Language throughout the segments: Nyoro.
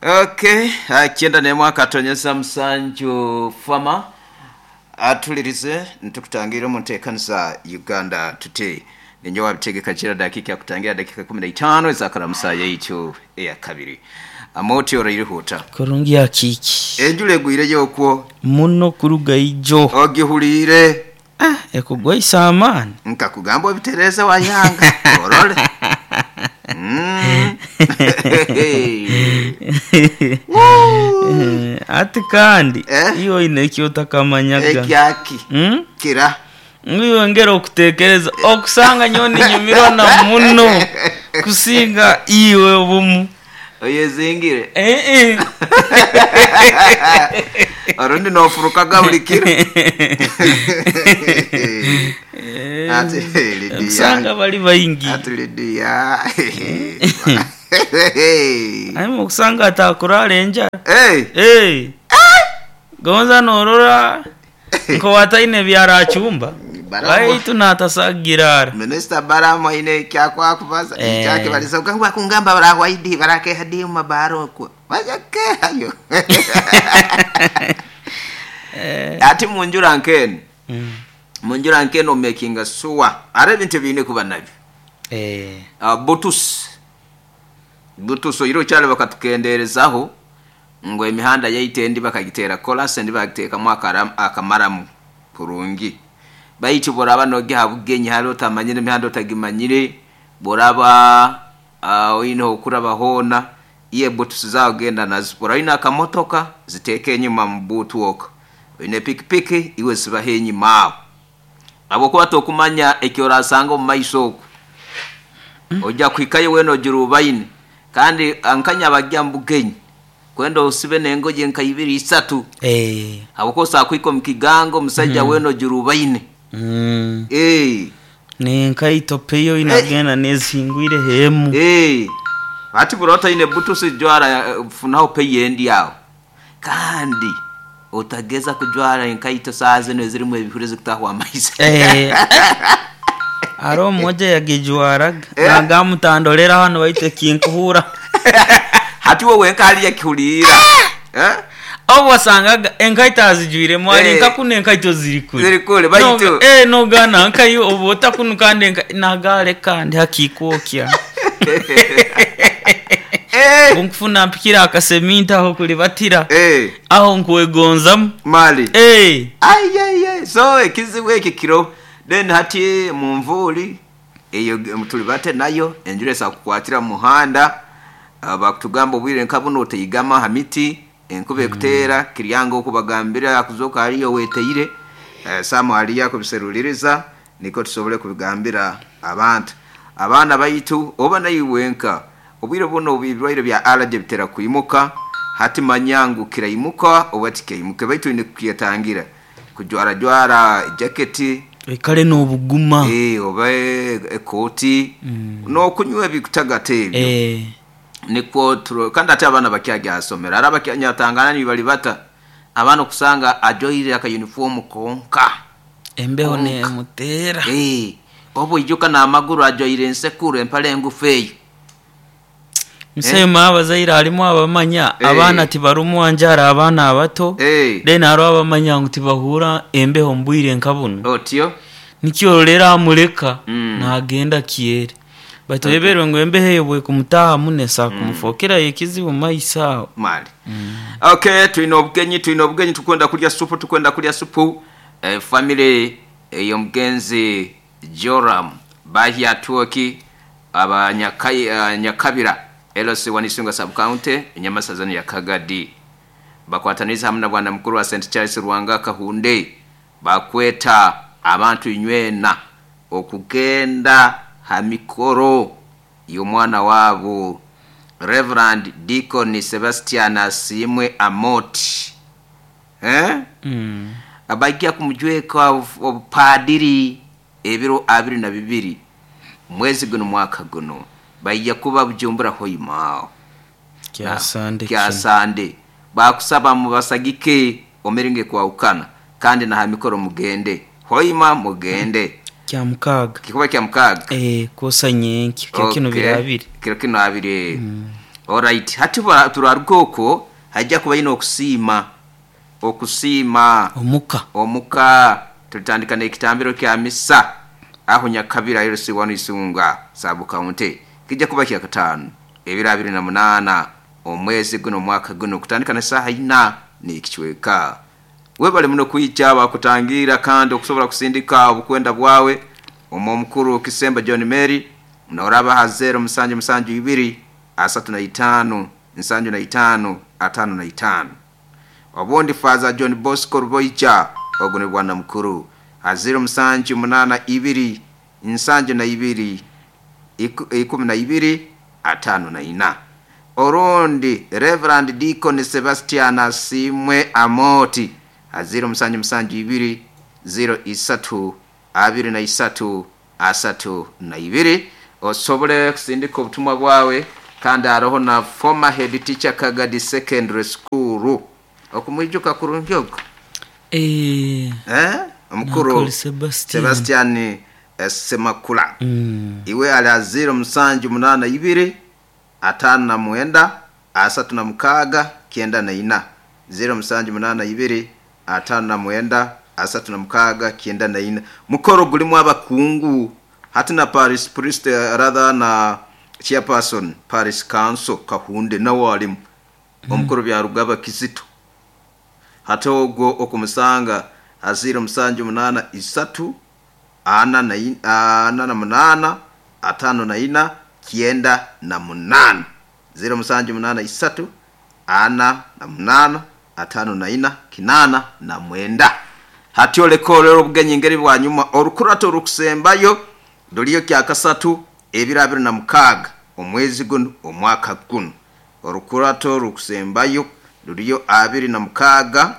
Okay, kyenda n'emwe akatonyeza musanju fama atulirize nitukutangira omu nteekaniza Uganda Today. Ninyowe wabitegeka kira dakika kutangira dakika 15 ezakaramusa yaitu eyakabiri. Amoti orairihuta. Kurungi akiiki. Enjura egwireyo okwo. Muno kuruga ijo. Ogihuliire. Ah, ekugwaisa amaani. Nkakugamba obitereeze wayanga orole. Ati kandi Eh? iwe oine eki otakamanyaga. Ekyaki Hmm? kira Ngu iwe ngera okutekereza okusanga nyowe ninyumirwa na muno kusinga iwe obumu. Oyezingire. Eh, eh. Orundi nofurukaga buli kiro. Ati Lidia. Okusanga bali baingi. Ati Lidia. Aye okusanga atakurara enjara. Hey. Hey. Gonza norora nkowataine ebyarachumba. Baitu natasagirara. Minisita Baramu aine ekyakwakubaza Eh. ekyakibaliza okangwa kungamba barahwaidi barakeha di mu mabaro okwo bajakehayo. Ati munjura nkene. Munjura nkene omakinga sure ari ebintu biine kuba nabyo. Eh. Butusi butusi oire okyali bakatukendeerezaho ngu emihanda yaitu endi bakagiteera kolasi endi bagiteekamu akamaramu kurungi. Baitu bworaba nogiha bugenyi hali otamanyire emihanda otagimanyire, bworaba oine okuraba hoona, iye butusi zaawe genda nazo. Bworaba oine akamotoka ziteeke enyuma mu buutu okwo. Oine pikipiki iwe zibaho enyuma aho. Habwokuba tokumanya eki orasanga omu maiso okwo. Ojja kuhikayo weena ogira obaine kandi nkanya abajja mu bugenyi kwenda osibe n'engoye nka ibiri isatu. Eh. Habwokuba osobola kuhika omu kigango omusaija weena ogira obaine. Eh. Nenkaito peyo inagenda nezingwire hemu. Eh. Ati buri otaine butusi jwara funaho peyo endi aho. Kandi otageza kujwara enkaito saaha zinu ezirimu ebihuru ezikutahwa amaizi. Eh. Hariho mmoja yagijwaraga nagamutandolera hano baitu ekinkuhura. Hati we wenka haliyo ekihuliira. Eh? Obu wasangaga enkaito azijwiremu ali Eh. nka kunu enkaito ziri kure. Ziri kure, baitu. Nogana nkayo obu otakunu kandi nagale kandi hakikwokya. Eh. Onkufuna mpikira akaseminti aho kulibatira. Eh. Aho nkwegonzamu. Mali. Eh. Ai ai ai. So ekizibu eki kiro then hati munvuuli eyo tulibate nayo enjura esobola kukwatira mu muhanda. Bakutugamba obwire nka buno oteigama ha miti enkuba ekuteera kiryanga okubagambira akuzoka hariyo weteire. Samu hariyo akubiseruliriza niko tusobole kubigambira abantu. Abaana baitu oba naiwe wenka obwire buno ebirwaire bya allergy bitera kwimuka. Hati manya ngu kiraimuka oba tikaimuka baitu oine kukyetangira kujwara jwara jaketi Oikare n'obuguma. Oba ekooti n'okunywa ebikutagata ebyo. Eh. Nikwo kandi ate abaana bakyagya aha isomero. Hariho abakyanyatangana nibari bata abaana okusanga ajwaire akayunifoomu konka. Embeho Konka. nemuteera. Obu oijuka n'amaguru ajwaire ensekuro empare engufu eyo. Musema abazaire harimu abamanya abaana tibarumwa njara abaana abato. Then hariho abamanya ngu tibahura embeho omu bwire nka buno. Otyo. Nikyo rero amureka nagenda kyere. Baitu oyeberwe ngu embeho eyo bwekumutaaha muno esobola kumufokerayo ekizibu omu maiso aho. Mali. Okay, twine obugenyi, twine obugenyi tukwenda kulya supu, tukwenda kulya supu. Family ey'omugenzi Joram Bahia Tuoki aba Nyakabira LC Wanisunga sub county Nyamasazani ya Kagadi. Bakwataniza hamwe na bwana mukuru wa St Charles Ruhanga Kahunde bakweta abantu inywena okugenda ha mikoro y'omwana wabo Reverend Deacon Sebastian Asimwe Amoti. Abajja kumujweka obupadiri ebiro 22 mwezi guno mwaka guno bajja kuba Bujumbura hoimao. Kya Sande Kya kino. Sande. Bakusaba mubasagike omeringe kwaukana kandi na hamikoro mugende. Hoima mugende. Kya mukaaga. Kikuba kya mukaaga. Kwosa nyenki, kiro kino Okay. biro abiri. Kiro kino abiri. Alright, hati turaruga okwo, hajja kuba ine okusiima, okusiima omuka. Omuka tulitandika n'ekitambiro kya misa aho Nyakabira LC1 Isunga sub county. Kijja kuba kyakataano ebiro 28 omwezi guno omwaka guno kutandika na saaha ina n'ekicweka. Webale muno kwija bakutangira kandi okusobola kusindika obukwenda bwawe omu omukuru Kisemba John Mary noraba ha 0 7 7 2 35 75 55. Obundi Father John Bosco Ruboija ogu ni bwana mukuru ha 0 7 8 2 72 12 54. Orundi Reverend Deacon Sebastian Asimwe Amoti ha 0 7 7 2 0 3 23 32. Osobole kusindika obutumwa bwawe. Kandi haroho na former head teacher Kagadi Secondary School okumwijuka kurungi ogwo. Eh, Omukuru Nakoli Sebastian. Sebastian Semakula. Iwe ali ha 0 7 8 2 59 36 94. 0 7 8 2 59 36 94. Mukoro gulimu abakungu hati na Paris priest, rather na chairperson Paris Council Kahunde nawe alimu. Omukuru Byarugaba Kizito hati ogwo okumusanga ha 0 7 8 3 48 54 98. 0 7 8 3 48 54 89. Hati oleka olero obugenyi ngeri bwanyuma orukurato orukusembayo ruliyo kyakasatu ebiro 26 omwezi guno omwaka guno. Orukurato rukusembayo ruliyo 26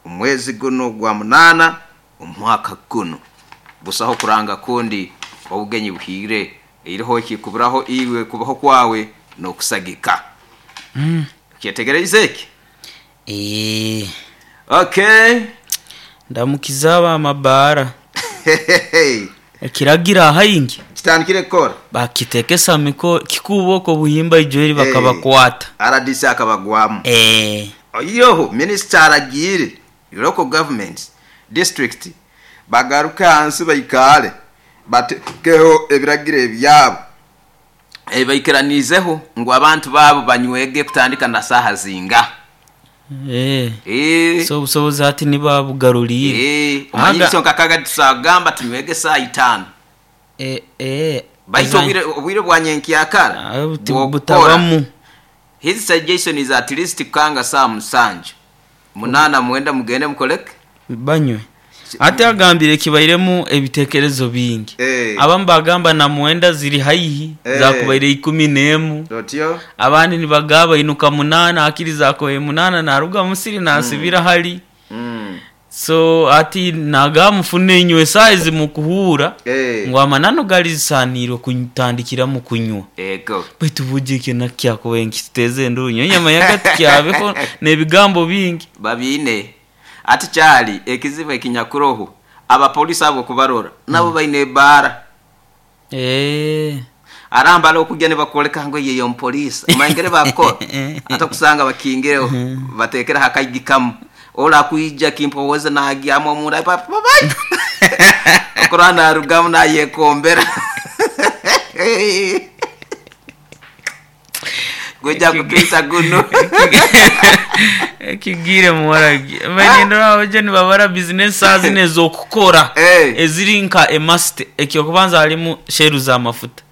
omwezi guno gwa 8 omwaka guno. Busaho kuranga kundi obugenyi buhire iriho kikuburaho iwe kubaho kwawe nokusagika. Kyetegereze eki? Okay. Ndamukiza abamabara. Ekiragira ahaingi kitandikire kukora bakitekesa miko kikuboko buhimba ijweri bakabakwata. RDC akabagwamu. Oyiroho minister aragiire local government district bagaruka hansi baikale batekeho ebiragiro ebyabo baikiranizeho ngu abantu babo banywege kutandika na saha zinga. So obusobozi hati nibabugaruriire. Omanyiso nkakaga tusagamba tunywege saa 5. Baitu obwire bwa nyenkyakara butabamu. His suggestion is at least kukanga saa 7 8 mwenda mugende mukoleke banywe. Ate agambire kibairemu ebitekerezo bingi. Abamu bagamba na mwenda ziri haihi zakubaire 11. Otyo abandi nibagaba inuka 8 akiri zakoye 8 naruga musiri nasibira hali. So ati nagamufune inywe size mukuhura ngo amanano galisaniro kuntandikira mu kunywa. Ego baitu bujike nakyakowe nkiteze ndunyo nyama yagati kyabeko nebigambo bingi babine. Ati kyali ekizibu ekinyakuroho abapolisi abo kubarora nabo baine bara. Arambala okujja ne bakoleka ngo yeyo mpolisi omanyire bakora atakusanga bakingireho batekera hakayigikamu ola kuija kimpoweza nagyamu omunda papa okorana arugamu nayekombera gweja kupita guno ekigire muwaragi banindora abaje nibabara business azine zokukora eziri nka emast ekyokubanza halimu sheru za mafuta.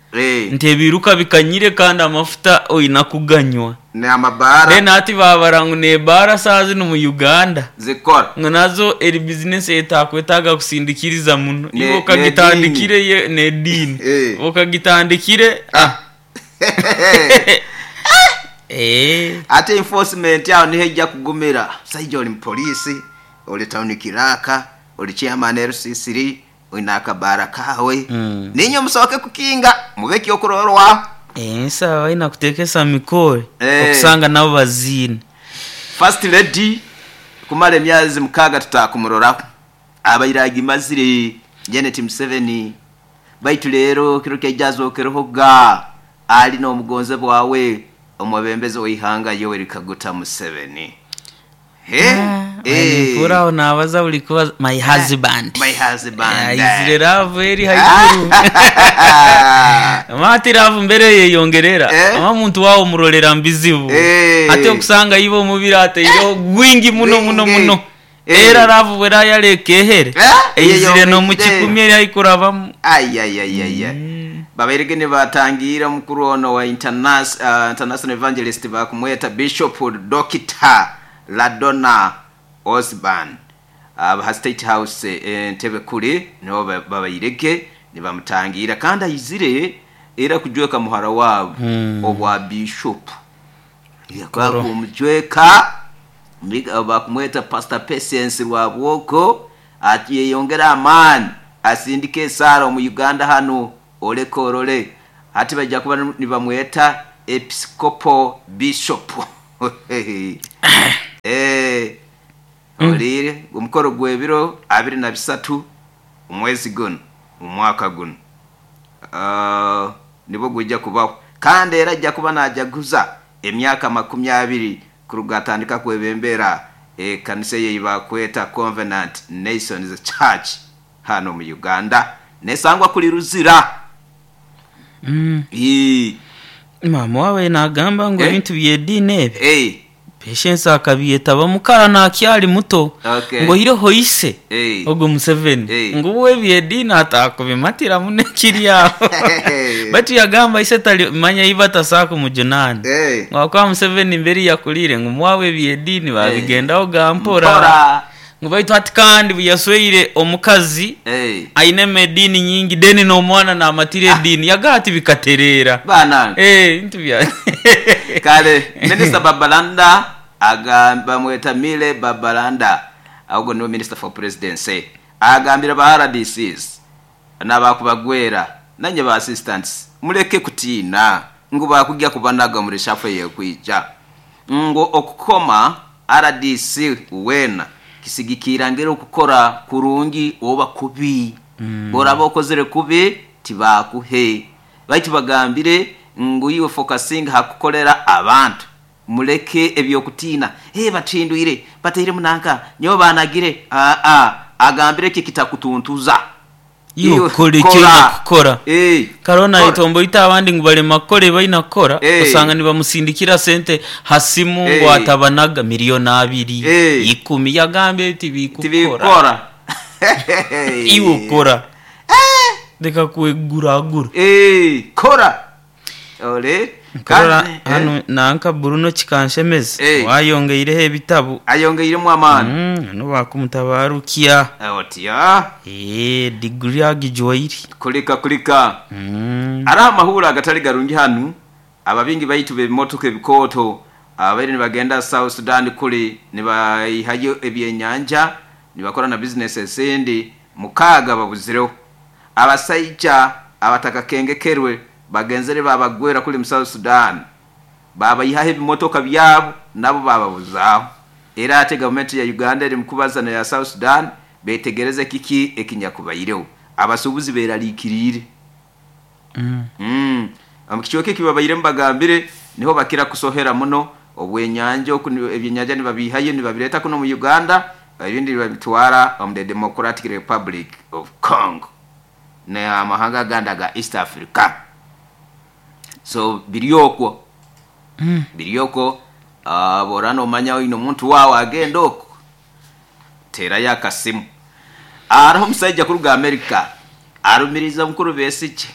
Ntebiruka bikanyire kandi amafuta oyina kuganywa ne amabara then ati babarangu ne bara sazi no mu Uganda zikora ngo nazo eri business etakwetaga kusindikiriza muno ibo kagitandikire ne dini okagitandikire Ate enforcement yao nihe kugumira saija oli polisi oli town kiraka oli chairman LCC oyina akabara kawe. Ninyo musoke kukinga mubeki okurorwa sawa ina kutekesa mikore okusanga nabo bazine. First lady kumala emyezi 6 tutakumurora abairagi mazire Janet Museveni baitu lero kiro kyajazo kerohoga ali no mugonze bwawe Omwebembezi w'eihanga Yoweri Kaguta Museveni. Mpuraho nabaza buli kubaza my husband. My husband. Aizire love eri haiguru. Amati love mbere yeyongerera. Ama muntu wawe omurolera mubizibu. Ate okusanga iwe omubiri ateireho gwingi muno muno muno. Era love bwerayaleka ehere. Eizire n'omukikumi eri haikurabamu. Ayayayaya. Babairege nibatangira omukuru ono wa international evangelist bakumweta Bishop Dr. Ladonna Osborn. Aba State House entebe kuri niho babairege nibamutangira kandi aizire era kujweka muhara wabo obwa bishop. Yakumujweka bakumweta Pastor Patience Rwabwoko atiyongera amani asindike esara mu Uganda hano olekorole hati bajja kuba nibamweta Episcopal Bishop. Olire omukoro gw'ebiro 23 omwezi guno omwaka guno nibo gujja kubaho kandi era ajja kuba najaguza emyaka 20 kuruga atandika kwebembera ekanisa ye bakweta Covenant Nations Church hano mu Uganda nesangwa kuli Ruzira. Mama wawe nagamba ngo ebintu by'ediini ebi Patience akabiyetaba mukara nakyali muto. Ngo hiroho ise ogo Museveni ngo we by'ediini atakubimatira munekiri aho. Batu yagamba ise tali manya ibata sako mujunani. Ngo kwa Museveni mbere yakulire ngo mwawe by'ediini babigendaho gampora. Ngo baitu ati kandi buyasweire omukazi aine medini nyingi deni n'omwana namatire edini yagati bikaterera. Bana. Intu bya. Kale Minister Babalanda agamba mweta Mile Babalanda ahubwo niwe Minister for Presidency agambira ba RDCs n'abakubagwera nanye ba assistants muleke kutiina ngo bakujya kubanaga muri shafe yekwija ngo okukoma RDC wena kisigikira ngero kukora kurungi oba kubi. Boraba okozere kubi tibakuhe baitu bagambire ngo iwe focusing hakukolera abantu muleke ebyokutina batindwire bateire munanka nyo banagire agambire ki kitakutuntuza iyo kole kora Karona itombo ita abandi ngo bale makole bayina kora usanga nibamusindikira sente hasimu ngo atabanaga miliyoni 2 10 yagambe tibikukora iwo kora ndeka kweguragura kora ole Karora hano nanka Bruno Kikanshemeza wayongeireho ebitabu ayongeiremu amani no bakumutabarukia otiya degree agijoyiri kulika ari amahura agatari garungi hano ababingi baitu b'ebimotoka ebikoto abaire nibagenda South Sudan kuli nibayihayo ebyenyanja nibakora na business esindi mukaga babuzireho abasaija abatakakengekerwe bagenzere babagwera kuli mu South Sudan babayihaho ebimotoka byabo nabo bababuzaho era ate gavumenti ya Uganda eri mukubaza na ya South Sudan betegereze kiki ekinyakubayireho abasubuzi beralikirire Amukichoke kibabayire mbagambire niho bakira kusohera muno obwenyanja ebyenyanja nibabihaye nibabireta kuno mu Uganda ibindi babitwara mu the Democratic Republic of Congo na amahanga ganda ga East Africa. So biryoko borano manya ino muntu wawe agenda oko tera yakasimu araho musajja kuruga America arumiriza mukuru Besigye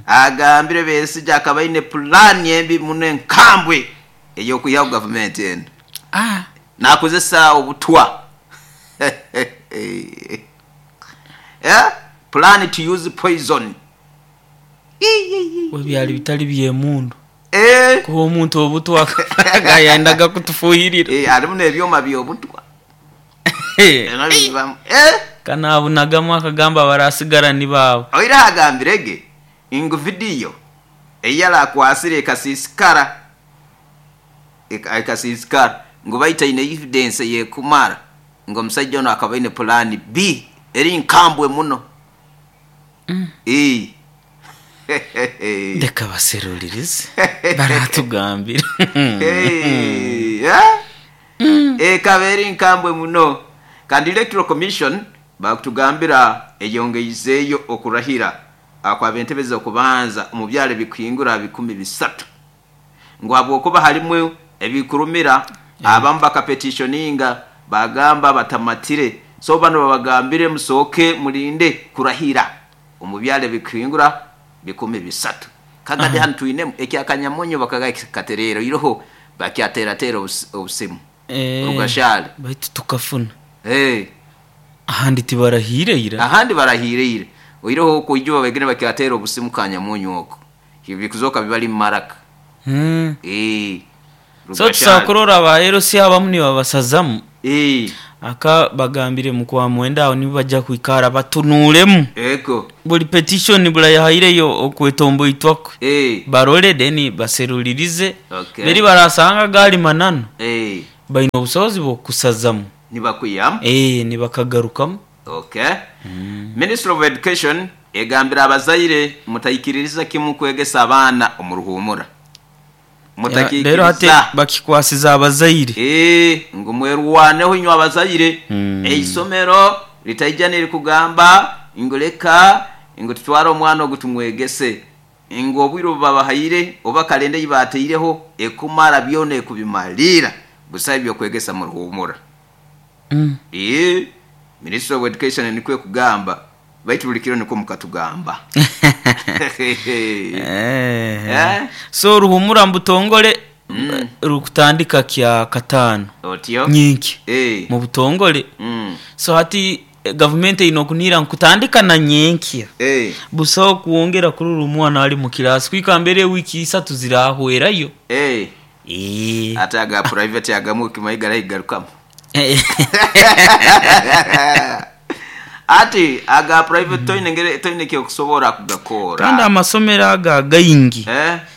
agambire Besigye akaba ine plan embi mune nkambwe eyo kuya government eno nakozesa obutwa plan to use poison webyali bitali byemundu kuba omuntu obutwa gayendaga kutufuhirira alimu n'ebyoma by'obutwa kanabunagamu akagamba barasigara ni baabo oira agambirege ingu video eyalakwasire ekasisikara ngo baita ine evidence yekumara ngo omusajja ono akaba ine plan B eri nkambwe muno. Leka baserulirize baratugambira. Hey, eh? Ekaba eri nkambwe muno. Kandi Electoral Commission bakutugambira eyongeizeeyo okurahira akw'ab'entebe z'okubanza omu byaro ebikuhingura 300, ngu habwokuba harimu ebikurumira, abamu bakapetishoninga bagamba batamatire, so banu babagambire musooke mulinde kurahira omu byaro ebikuhingura 300. Kagadi hanu twinemu ekyakanyamunyu bakagatereera iroho bakyaterateera obusimu. Rugashale. Baitu tukafuna. Ahandi tibarahiire ira. Ahandi barahiire ira. Oihireho okwo ijuba baigire bakyateera obusimu Kanyamunyu okwo. Bikuzoka bibali mu maraka. So tusobola kurora aba LC abamu nibabasazamu. Aka bagambire mu kwa mwenda aho nibo baja kwikara batunuuremu. Buli petition buli ayahaireyo okwetomboitwa kwe. Barole then baserulirize. Beri barasanga gali mananu, baine obusobozi bw'okusazamu. Nibakwihamu. Nibakagarukamu. Okay. Ministry of Education egambire abazaire mutaikiririza kimu kwegesa abaana omu ruhumura. Reero hati Mutakiikiriza. bakikwasize abazaire. Ngu mwerwaneho inywe abazaire. Eisomero litaija nirikugamba ngu leka ngu tutware omwana ogu tumwegese. Ngu obwire obu babahaire oba kalenda ei baataireho ekumara byona ekubimaliira, busaho eby'okwegesa mu ruhumura. Ministry of Education nikwo ekugamba, baitu buli kiro nikwo mukatugamba. So oruhumura mu butongore rukutandika Kyakataano Otyo? nyenkya mu butongore. So hati gavumenti eine okunihira ngu kutandika na nyenkya busaho kwongera kurora omwana ali mu kilaasi kwika mbere ewiiki isatu zirahwerayo. Ate aga private agamwe okimanyi garaigarukamu. Ati aga private toine ngeri toine kyokusobora kugakora. Kandi amasomero ago againgi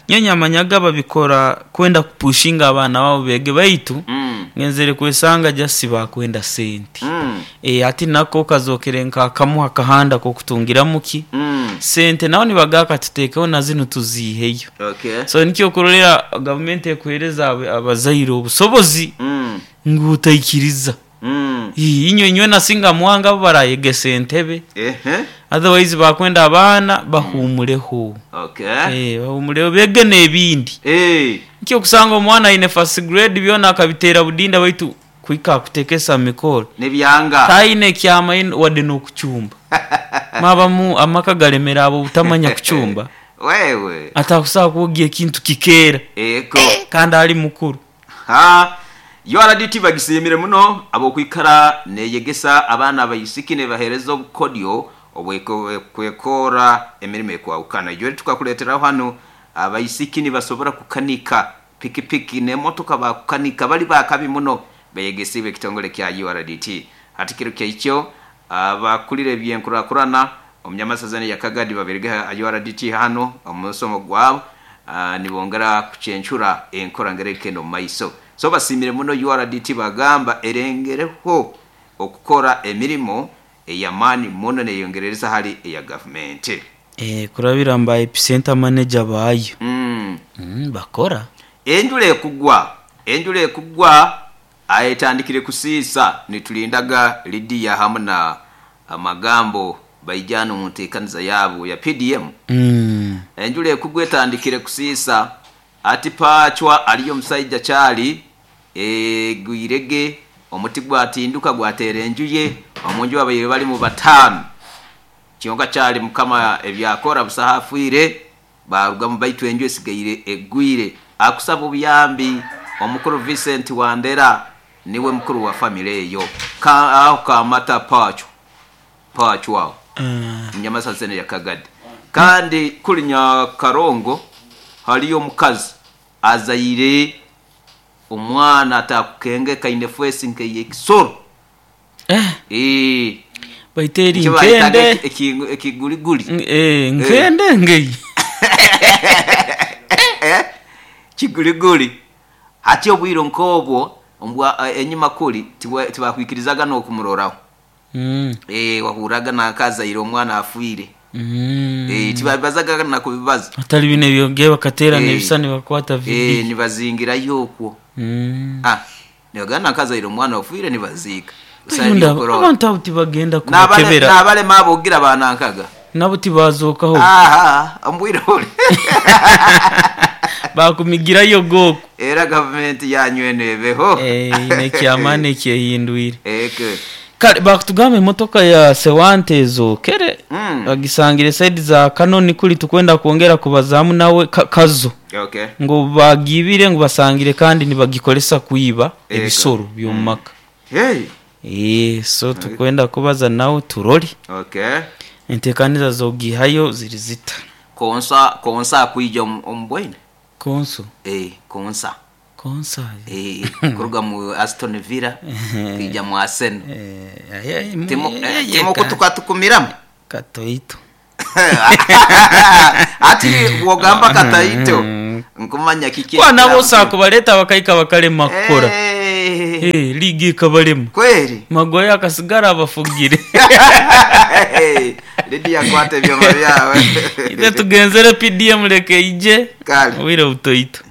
nyowe nyamanyaga babikora kwenda kupushinga abaana baabo beege baitu ngenzere kwesanga just bakwenda sente. Hati nako kazokere nka kamu akahanda k'okutungiramu ki? Sente. Nabo nibagamba katutekeho na zinu tuziiheyo. So nikyo okurorera gavumenti ekuhereza abazaire obusobozi ngu otaikiriza. Inywe nywena singa mwanga abo barayegesa entebe. Otherwise bakwenda abaana bahumureho. Bahumureho bege n'ebindi. Nikyo okusanga omwana aine first grade byona akabiteera budinda baitu kuhika akutekesa mikoro Nibyanga. taine kyamaine wadde n'okucumba. Mwabamu amaka galemera ahabw'obutamanya kucumba. Wewe. Atakusobola kwogya ekintu kikeera Ego. kandi ali mukuru. Ha, URDT bagisiimire muno habw'okwikara neyegesa abaana abaisiki nebaheereza obukodyo obw'okwekora emirimo ekwahukana. Ijo tukakuleeteraho hanu abaisiki nibasobora kukanika pikipiki n'emotoka bakukanika bali bakabi muno beyegesiibwe ekitongole kya URDT. Hati kiro kyaikyo abakulira ebyenkurakurana omu Nyamasazana eya Kagadi babirege ha URDT hanu omu musomo gwabo nibongera kucencura enkora ngeri ekenda omu maiso. So basiimire muno URDT bagamba erengereho okukora emirimo ey'amaani muno neyongerereza hali eya gavumenti. Kurabira mu ba Epicenter Manager baayo. Bakora. Enjura ekugwa, enjura ekugwa etandikire kusiisa nitulindaga Lydia hamu na Magambo baija hanu omu nteekaniza yaabo ya PDM. Enjura ekugwa etandikire kusiisa ati Paachwa aliyo omusaija kyali egwirege omuti gwatinduka gwateera enju ye, omu nju babaire balimu bataano. Kyonka kyali Mukama ebyakora busaho afiire baarugamu baitu enju esigaire egwire. Akusaba obuyambi omukuru Vincent Wandera niwe mukuru wa famire eyo. Aho Kamata Paachwa, Paachwa aho Nyamasazene ya Kagadi. Kandi kuri Nyakarongo hariyo omukazi azaire omwana atakukengeka aine feesi nk'ey'ekisoro. Baitu eri Nikyo bayetaga nkende. ekiguriguri. Nkende ngei. Kiguriguri. Hati obwire nk'obwo enyima kuri tibakwikirizaga n'okumuroraho. Wahurraga nanka azaire omwana afiire. Tibabibazaga na kubibaza. Atali bino ebyogere bakateerana ebisani bakwata vidiyo. Nibazingirayo okwo. Ah, nibagamba nakazaire omwana ofiire nibaziika. Rundi abantu abo tibagenda kubakebera. N'abalema abo ogira banankaga. Nabo tibazookaho. Aha, omu bwire buli. Bakumigirayo goku. Era gavumenti yanyu eno ebeho. N'ekyamaani ekyehindwire. Eke. Kale bakutugamba emotoka ya Sewante ezookere bagisangire saidi za Kanoni kuri tukwenda kwongera kubazaamu nawe Kazo. Ngu obu bagiibire ngu basangire kandi nibagikoresa kwiba ebisoro by'omu maka. So tukwenda kubaza nawe turore enteekaniza z'ogiihayo ziri zita. Konsa konsa akwija omu bwaine? Konso? Konsa. Konsa? Kuruga mu Aston Villa kwija mu Arsenal. Timukutukatukumiramu? Katoito. Ati bwogamba kataito nkumanya kiki. Kuba nabo osobola kubaleta bakahika bakalema kukora. Liigi ekabalema. Kweri. Maguire akasigara abafugire. Lydia kwata ebyoma byawe. Itwe tugenzere PDM leka eije. Kale. Obwire butoito.